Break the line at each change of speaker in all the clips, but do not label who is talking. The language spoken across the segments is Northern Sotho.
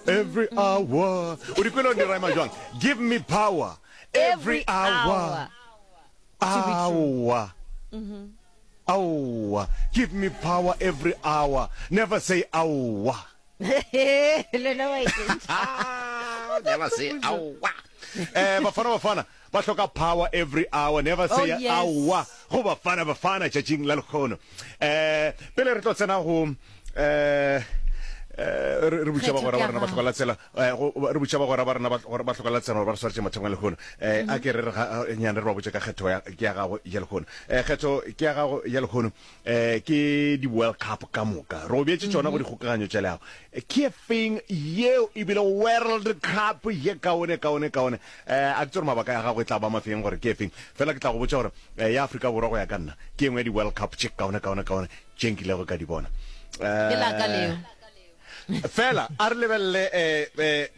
Every hour. O di kwele di rhyme jwang? Give me power every hour. Hour. Aowa. Give me power every hour. Never say aowa.
Le wa e
Never say aowa. Eh Bafana Bafana ba hloka power every hour. Never say oh, yes. aowa. Go Bafana Bafana tšatšing la lekgono. Eh pele re tlo tsena go eh eh, re butša bagwera ba rena ba hloka la tsela eh, re butša bagwera ba rena ba hloka la tsela gore ba re swaretše mathomong a lehono um a ke re re nyane re ba botše ka kgetho ke ya gago ya lehono um kgetho ke ya gago ya lehono um ke di-world cup ka moka re go beetše tšona go dikgokaganyo tša leago ke feng yeo e bile world cup ye kaone kaone kaone um a ke tse gore mabaka ya gago e tla ba mafeng gore ke feng fela ke tla go botša gore ya Afrika Borwa go ya ka nna ke engwe ya di-world cup tše kaone kaone kaone tše nkilego ka di bona.
Ke la ka leo.
Fela a re lebelele eh, eh,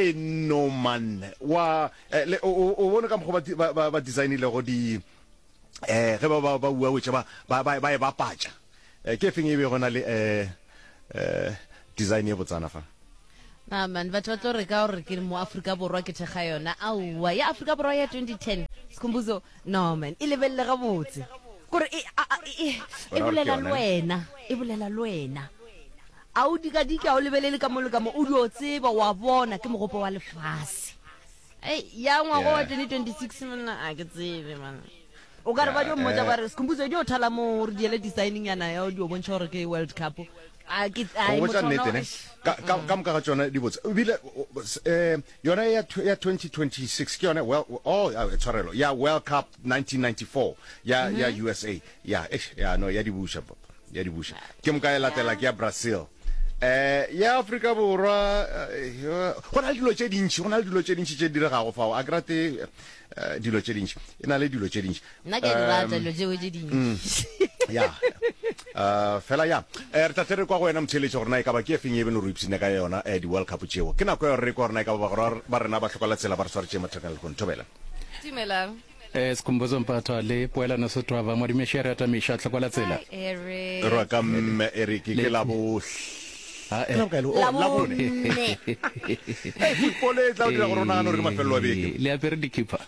modesignoman wa eh, le, o, o bone ka mokgwa ba, ba, ba designilego di eh, ge ba ba ba uawetša ba, ba, ba, ba e bapatša eh, ke efeng e bego na le eh, eh, design e botsana fa?
Na man, batho ba tlo re ka gore ke mo Afrika Borwa ke thekga yona. Aowa, ya Afrika Borwa ya 2010, Skhumbuzo, no man, e lebelele gabotse. Kore e, a, a, e, e
Wena o re ke
bolela le
yona, ne?
wena, e bolela le wena. A o dikadike, a o lebelele ka mo le ka mo, o dio tseba, wa bona, ke mogopo wa lefase. Ei, ya ngwaga wa
Yeah.
2026 monna, a ke tsebe man. O ka re ba
Yeah,
dio mmotša
eh,
ba re, Skhumbuzo, dio thala mo, re diele designing yana ya o dio bontšha gore ke World Cup. A ke,
Go
ai,
botša
motho ona,
nnete ne,
eish.
ka, ka, ka moka ga tšona di botse. Ebile, eh, yona ya, ya 2026 ke yone, well, oh, ah, tshwarelo, ya World Cup 1994 ya, ya USA. Ya, eish, ya, no, ya di buša, ya di buša. Ke moka e latela ke ya Brazil. Eh, ya Afrika Borwa, eh, go na le dilo tše dintši, go na le dilo tše dintši tše di diregago fao. A ke rate eh, dilo tše dintši. E na le dilo tše dintši.
Nna ke a di rata dilo tšeo tše dintši.
Ya. Uh, fela ya. Eh, re tla tle re kwa go wena motheeletši gore na e ka ba ke efeng ye beno re ipshine ka yona eh, di-World Cup tšeo. Ke nako ya gore re kwa gore na e ka ba bagwera ba rena ba hloka la tsela ba re swaretše mathakeng a lehono. Thobela.
Dumelang.
Eh, Skhumbuzo Mphathwa le Poelano Setwaba, Madimeši a re atamiša, hlokwa la tsela.
Hi, Eric.
Re ka mme Eric ke
Le-
la bo
Ah,
ke
eh.
la bokae le- oh, la bone. Hey, football e tla o dira gore o nagane gore ke mafelelo a beke.
Eh, Le apere dikhipa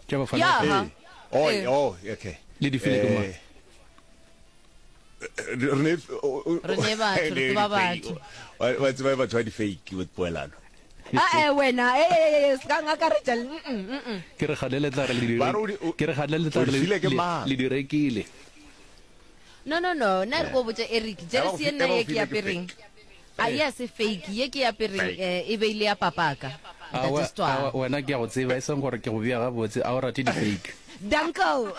tša Bafana
Ya.
Bafana.
Aha.
Ee. Oh,
Eh.
oh, okay.
Le di file ke mang?
Eh, re ne
Re ne batho, re tseba batho.
Wa tseba batho ba di fake with poelano.
Ah, eh, wena, eh, eh, eh, se ka ngakaretša le, mm, mm, mm.
Ke re kgale le tla re le di
Ba re o di- o-
ke re kgale le tla
o
re
di
le
file ke
le-
mang?
le di rekile.
No, no, no, nna re ko botša Eric,
Eba go
jeresi ye
fi-
nna
eba go
ye ke
file ke
apereng.
fake.
A ye a se fake, ye ke apereng
Fake.
eh, e be ile ya papaka.
Awa,
Ntate Stwara.
awa, wena ke a go tseba, e seng gore ke go bea gabotse, a o rate di-fake.
Danko.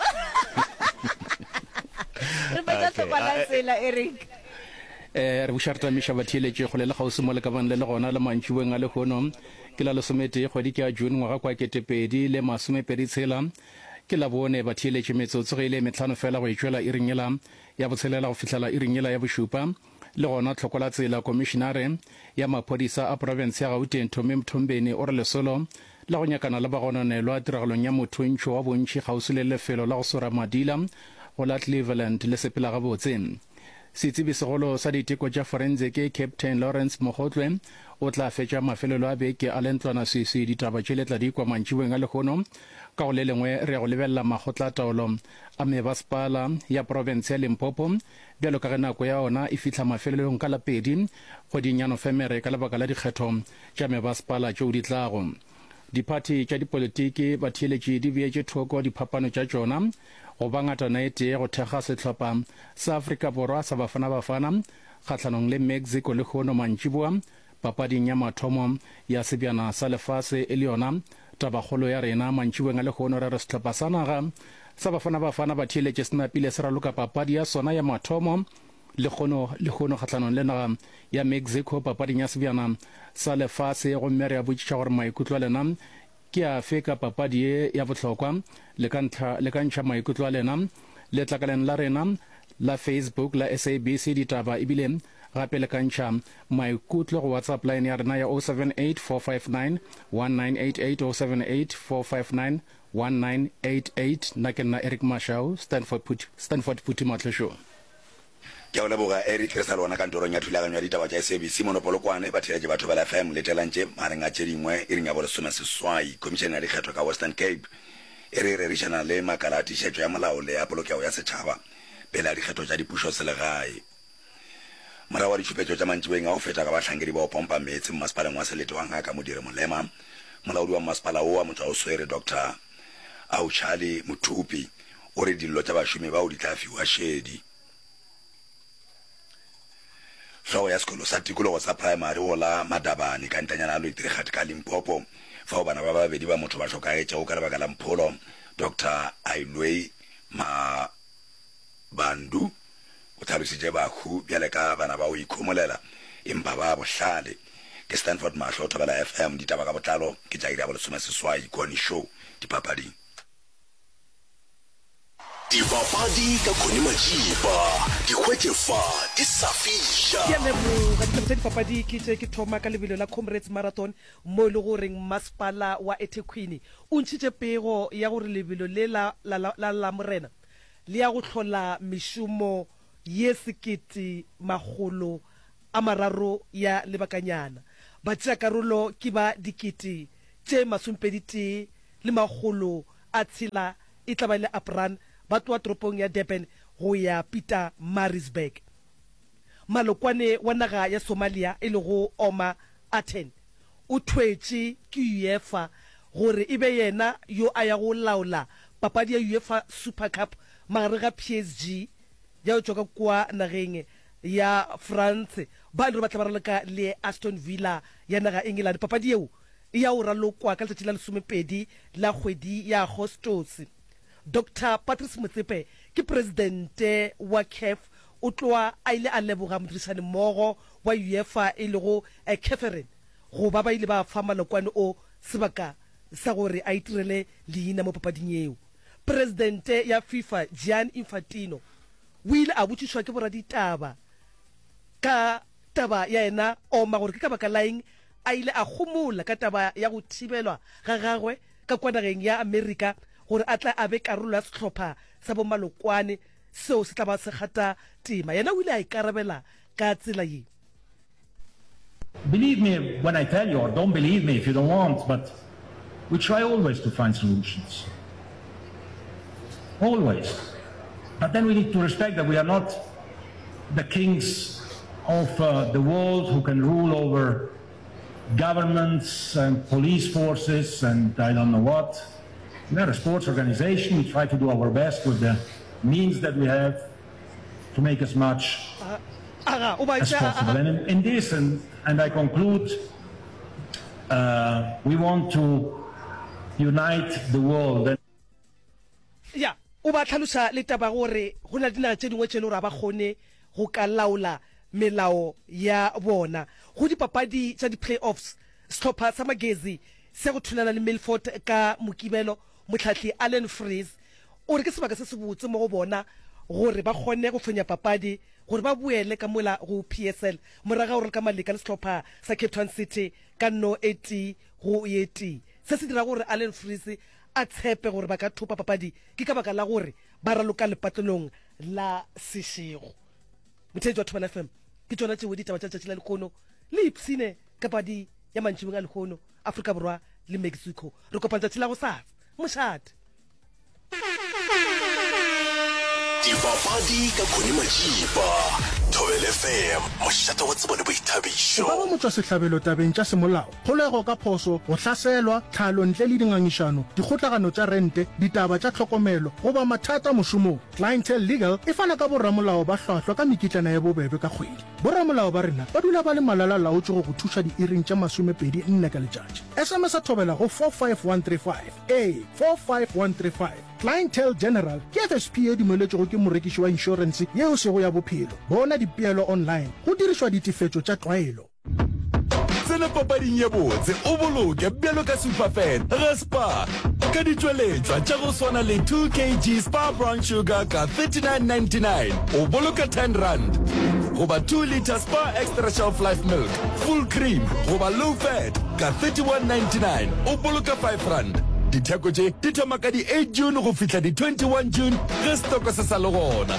Re fetša
Okay,
hlokwa la
ah, eh,
tsela Eric.
Eh, re buša re tamiša batheeletši kgole le kgauswi mo le ka bang le le gona le mantšiboeng a lehono. Ke la lesometee kgwedi ke ya June ngwaga kwa 2026. Ke Labone batheeletši metsotso ge e le e mehlano fela go e tšwela iring yela ya botshelela go fihlela iring yela ya bošupa. Le gona Tlhokolatsela, Komišinare ya Maphodisa a Profense ya Gauteng Tommy Mthombeni o re lesolo la go nyakana le bagononelwa tiragalong ya mothuntšho wa bontši kgauswi le lefelo la go swara madila go la Cleveland le sepela gabotse. Setsebi-segolo sa diteko tša forensiki Captain Lawrence Mogotlwe o tla fetša mafelelo a beke a le ntlwanaswiswi. Ditaba tše le tla di kwa mantšiboeng a lehono. Ka go le lengwe re ya go lebelela makgotla-taolo a mebasepala ya profense ya Limpopo Bjalo ka ge nako ya ona e fihla mafelelong ka la pedi kgweding ya Nofemere ka lebaka la dikgetho tša mebasepala tšeo di tlago, diphathi tša dipolitiki batheeletši di beetše thoko diphapano tša tšona go ba ngatana e tee go thekga sehlopha sa Afrika Borwa sa Bafana Bafana kgahlanong le Mexico lehono mantšiboa Papading ya mathomo ya Sebjana sa Lefase e le yona tabakgolo ya rena mantšiboeng a lehono, re re sehlopha sa naga sa Bafana Bafana ba theeletše se napile se raloka papadi ya sona ya mathomo lehono lehono kgahlanong le naga ya Mexico papading ya Sebjana sa Lefase gomme re a botšiša gore maikutlo a lena Ke afe ka papadi ye ya bohlokwa? Le ka ntlha, le ka ntšha maikutlo a lena letlakaleng la rena la Facebook la SABC Ditaba ebile gape le ka ntšha maikutlo go WhatsApp line ya rena ya 078 459 1988, 078 459 1988. Nna ke nna Eric Mashau, Stanford Phuthi, Stanford Phuthi Matlosho.
Ke a go leboga Eric, re sa le gona kantorong ya thulaganyo ya ditaba tša SABC mono Polokwane. Batheeletši ba Thobela FM letelang tše magareng a tše dingwe iring ya bolesomeseswai. Khomišene ya dikgetho ka Western Cape e re e rerišana le makala a tiišetšo ya molao le a polokego ya setšhaba pele a dikgetho tša dipušoselegae. Morago ga ditšhupetšo tša mantšiboeng a go feta ka bahlankedi ba go pompa meetse mmasepaleng wa selete wa Ngaka Modiri Molema, molaodi wa mmasepala wo wa Motšwaoswere Doctor Auchali Mothupi o re dillo tša bašomi bao di tla fiwa šedi. Hlogo ya sekolo sa tikologo sa praemari go la Madabane ka ntanyana ya Loitrigat ka Limpopo fao bana ba babedi ba motho ba hlokagetšego ka lebaka la mpholo, Doctor Ailwei Mabandu o hlalositše bahu bjale ka bana ba go ikhomolela empa ba bohlale. Ke Stanford Mahlo, Thobela FM, ditaba ka botlalo ke tša iri ya bolesomeseswai, Connie Show, dipapading.
Dipapadi ka Connie Majiba, di hwetše fa di sa fiša.
Ke a leboga. Ditaba tša dipapadi ke tše, ke thoma ka lebelo la Comrades Marathon mo e le goreng masepala wa eThekwini o ntšhitše pego ya gore lebelo le la la la Lamorena le ya go hlola mešomo ye 1300 ya lebakanyana. Batšeakarolo ke ba 21,600 e tla ba e le Apran ba tloga toropong ya Durban go ya Pietermaritzburg. Malokwane wa naga ya Somalia e lego Omar Aten o thwetše ke UEFA gore e be yena yo a yago laola papadi ya UEFA Super Cup magareng ga PSG ya go tšwa ka kua nageng ya France ba e le gore ba tla ba raloka le Aston Villa ya naga England. Papadi yeo e ya go ralokwa ka letšatši la lesomepedi la kgwedi ya Agostose. Doctor Patrice Motsepe ke presidente wa CAF, o tloa a ile a leboga modirišanimmogo wa UEFA e lego Ceferin go ba ba ile ba fa malokwane o sebaka sa gore a itirele leina mo papading yeo. Presidente ya FIFA Gianni Infantino o ile a botšišwa ke boraditaba ka taba ya yena Oma gore ke ka baka la eng a ile a homola ka taba ya go thibelwa ga gagwe ka kua nageng ya Amerika gore a tle a be karolo ya sehlopha sa bomalokwane seo se tla ba se kgatha tema. Yena o ile a ikarabela ka tsela ye.
Believe me when I tell you, or don't believe me if you don't want, but we try always to find solutions. Always. But then we need to respect that we are not the kings of uh, the world who can rule over governments and police forces and I don't know what. We are a sports organization. We try to do our best with the means that we have to make as much
Aga, o ba
as possible. And in, in this, and, and I conclude, uh, we want to unite the world. And
Ya, o ba hlaloša le taba gore go na le dinaga tše dingwe tše e le gore ga ba kgone go ka laola melao ya bona. Go dipapadi tša di-play-offs, sehlopha sa Magezi se go thulana le Milford ka Mokibelo, mohlahli Allan Freese o re ke sebaka se sebotse mo go bona gore ba kgone go fenya papadi gore ba boele ka mola go PSL morago ga go raloka maleka le sehlopha sa Cape Town City ka no e tee go ye tee. Se se dira gore Allan Freese a tshepe gore ba ka thopa papadi ke ka baka la gore ba raloka lepatlelong la sešego. Motheetši wa Thobela FM, ke tšona tšeo ditaba tša letšatši la lehono. Le ipshine ka padi ya mantšibong a lehono, Afrika Borwa le Mexico. Re kopana tšatši la gosasa. Mošate.
Dipapadi ka Connie Majiba, Thobela FM, mošate wa tsebo le boithabišo.
O ka ba motšwasehlabelo tabeng tša semolao, kgolego ka phoso, go hlaselwa, tlhalo ntle le dingangišano, dikgotlagano tša rente, ditaba tša tlhokomelo, goba mathata mošomong. Clientele Legal e fana ka boramolao ba hlwahlwa ka mekitlana ye bobebe ka kgwedi. Boramolao ba rena ba dula ba le malala-laotšwe go go thuša diiring tše masomepedi nne ka letšatši. SMS-a Thobela go 45135. Ee, 45135. Clientele General ke FSP ye dumeletšwego ke morekiši wa inšorense ye e sego ya bophelo. Bona dipeelo online go dirišwa ditefetšo tša tlwaelo.
Tsena papading ye botse o boloke bjalo ka Superfan ga Spar ka ditšweletšwa tša go swana le 2 kg Spar Brown Sugar ka 39.99 o boloka 10 rand goba 2 litre Spar Extra Shelf Life Milk Full cream goba low fat ka 31.99 o boloka 5 rand. Ditheko tše di thoma ka di 8 June go fihla di 21 June ge setoko se sa le gona.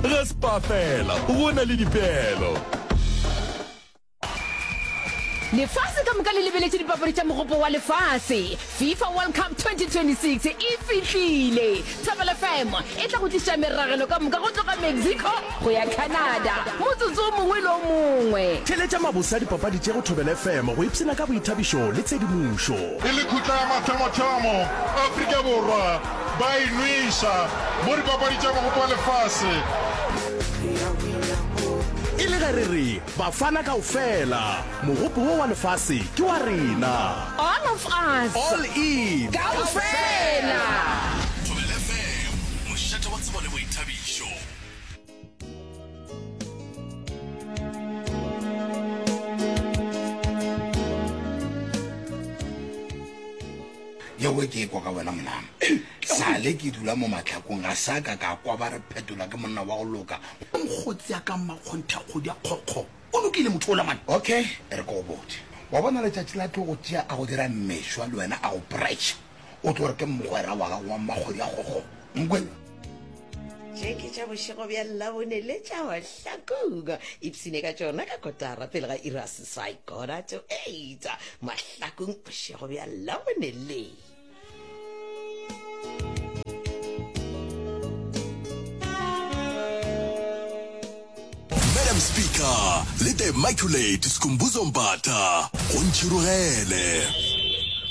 Ge Spar fela, go na le dipeelo.
Lefase ka moka le lebeletše dipapadi tša Mogopo wa Lefase. FIFA World Cup 2026 e fihlile! Thobela FM e tla go tliša meragelo ka moka go tloga Mexico go ya Canada motsotso o mongwe le o mongwe.
Theeletša mabose a dipapadi tše go Thobela FM go ipshina ka boithabišo le tshedimošo.
E le khutla ya mathomothomo, Afrika Borwa ba e nweša mo dipapadi tša Mogopo wa Lefase.
E le ge re re Bafana kaofela, mogopo wo wa lefase ke wa rena.
All of us.
All in.
Kaofela.
Thobela FM, mošate wa tsebo le boithabišo.
Yeo ke ekwa ka wena monama. Sale ke dula mo mahlakong ga sa ka ka kwa ba re Phetola ke monna wa go loka.
Mokgotsi ya ka mmakgonthe a kgodi a kgokgo. O lokile motho ola man.
Okay, e re ke go botše. Wa bona letšatši la tlo go tšea a go dira mmešwa le wena a go pressure. O tlo re ke mogwera wa gago wa mmakgodi a kgokgo. Nkwele?
Tše ke tša bošego bja Labone le tša Mahlakong. Ipshine ka tšona ka kotara pele ga iri ya seswai, quarter to eight. Mahlakong bošego bja Labone le.
Madam Speaker le The Immaculate Skhumbuzo Mbatha go ntšhirogele.